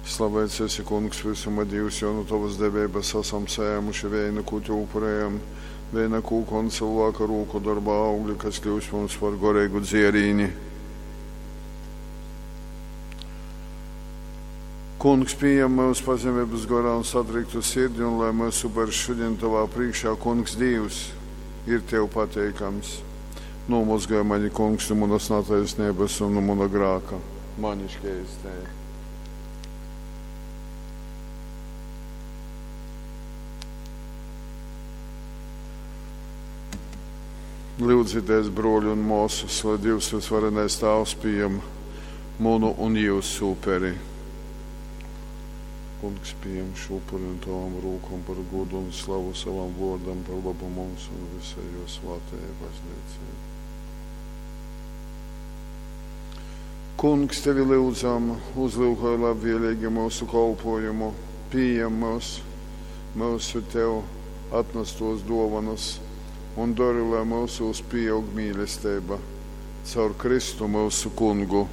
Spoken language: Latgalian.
Slaveits esi, Kungs, vysuma Dīvs, jo nu tovas deveibas asam sajēmuši veinu, kū tev upurējam, veina kūka un cylvāka rūku dorba augli, kas kļūst mums par goreigu dzierīni. Kungs, pījem myus pazemeibas gorā un satriktu sirdi, un lai mūsu upers šodien tovā priekšā, Kungs Dīvs, ir tev pateikams. Nomozgāj mani, Kungs, no manas netaisnības un no mana grāka. Mani šķeistēja. Lūdzieties, broļi un māsas, lai Dievs visvarenais Tēvs pieņem manu un jūsu uperi. Kungs pieņem šo upuri un tavām rūkām par godu un slavu savam vārdam, par labu mums un visai jo svētajai baznīcai. Kungs, tevi lūdzam, uzlūkoj labvēlīgi mūsu kolpojumu, pieņem mūs, mūsu tev atnestos dovanas un dari, lai mūsos pieaug mīlestība caur Kristu mūsu kungu.